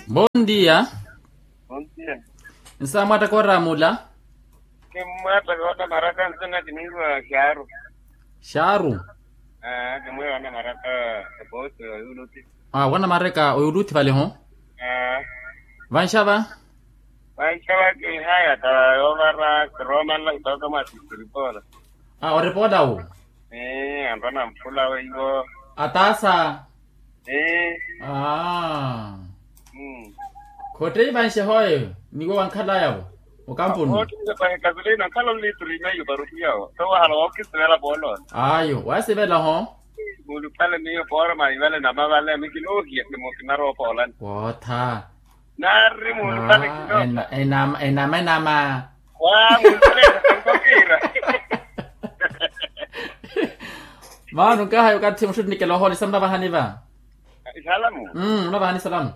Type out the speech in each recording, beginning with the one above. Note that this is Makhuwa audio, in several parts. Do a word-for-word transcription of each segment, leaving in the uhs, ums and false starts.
Bondia. Bondia. Nsamwatta koramula. Kimwatta koota maraka nsina kiniiwa xaaru. Xaaru. Kimweewa na maraka. Epoosi oyuluti. Wana mareka oyuluti valeho. Vanxava. Vanxava kihaya ta yoovara kiromanla kitooka mwa sisiripoola. Oripoola wu. Anrwa na mphula weiwo. Ataasa. Aa. Khotteyi vanxe hoye niwo wankhalayavo okampuni. Khotteyi pahi kavilei nankhala onlituri meio parupiyawo so wahala wookisivela poolola. Ayo wasivela ho. Muulupale miyo poora maivale namavale mikinoohiya kimokinaroopoolani. Wootha. Naari muulupale kinoka. Enama enama. Wa muulupale. Nkokira. Maano nkahaya okathi muxuttinikela ohoolisa munavahani va. Isalamu. Munavahani isalamu.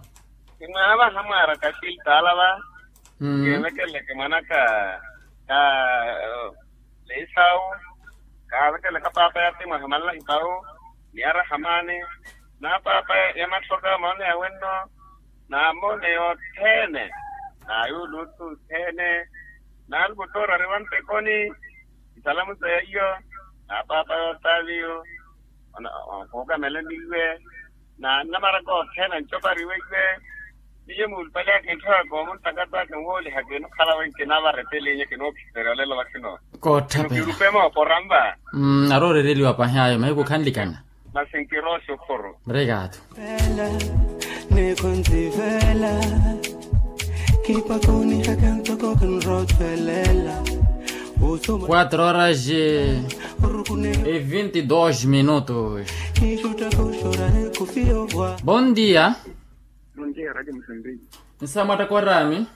Kimwaavaha mwaara kaxiltaala va. Kiivekeleke mwanaka ka leisau. Kaavekeleka paapa ya timu ahamanlahi pau. Ni arahamani. Na paapa ya mathoka moone ya wenno. Na moone yothene. Na yuulutu othene. Na alvutoora ari vantekoni. Isalamu sa yaiyo. Na paapa yotaviyo. Kuukamela niiwe. Na nnamaraka othene ancopa ariweiwe. Niye muulupale akintthawa koomuntakataka nwooliha kinukhala wenki navaretelinya kinookisterya olelo vakino. Kootthapeya. Kirupe mooporanva. Ari orereliwa pahi ayo mahiku khanlikana. Masi nkirooxa okhuru. Obrigado. Neekhontsivela. Kipakunihaka ntoko kinrottwelela. Quatro horas e vinte e dois minutos. Bom dia. Bom dia, Rádio Moçambique. Nsamwatta koraami.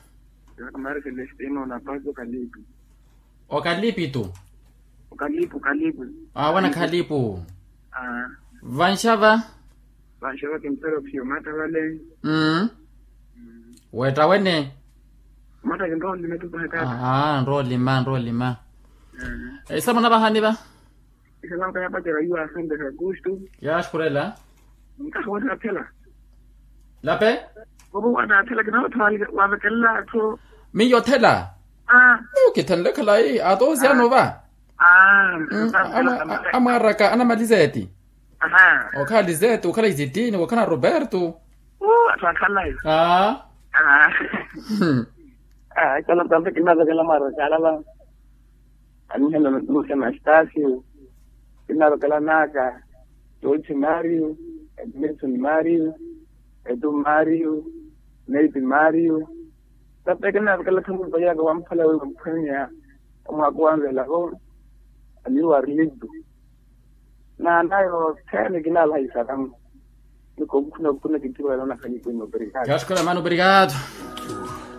Kamari celestino na pazo kalipi. Okalipi tu. Okalipu kalipu. Awana khalipu. Vanxava. Vanxava kimpero phiyo matta vale. Wetta wene. Matta kinroolima tu pahekata. Nroolima nroolima. Isamu navahani va. Isamu navahani va. Yaaxukhurela. Nkaha wene aphela. Lape. Ovo wene aphela kinawattha. Wavekelela atthu. Miyo othela. Miyo kithanle khalayi atoosiyano va. Amwaraka anamalizeti. Okhala liseti okhala isitini okhala roberto. Atthu akhalayi. Aa. Aa. Aa. Kala tampe kinavekela mwaraka alala. Anihela nusa na stasio. Kinavekela naka. George mario. Edmilson mario. Edu mario. Nate mario. Tape kinavekela thamu payaka wamphala wewe mphwenya. Omwaka wanvela ho. Amiyo arilitu. Na nayo thene kinalaha isaramu. Niko mkhuna mkhuna kinthiwa yalona khanyikuni obrigado. Yaaxukhela mano obrigado.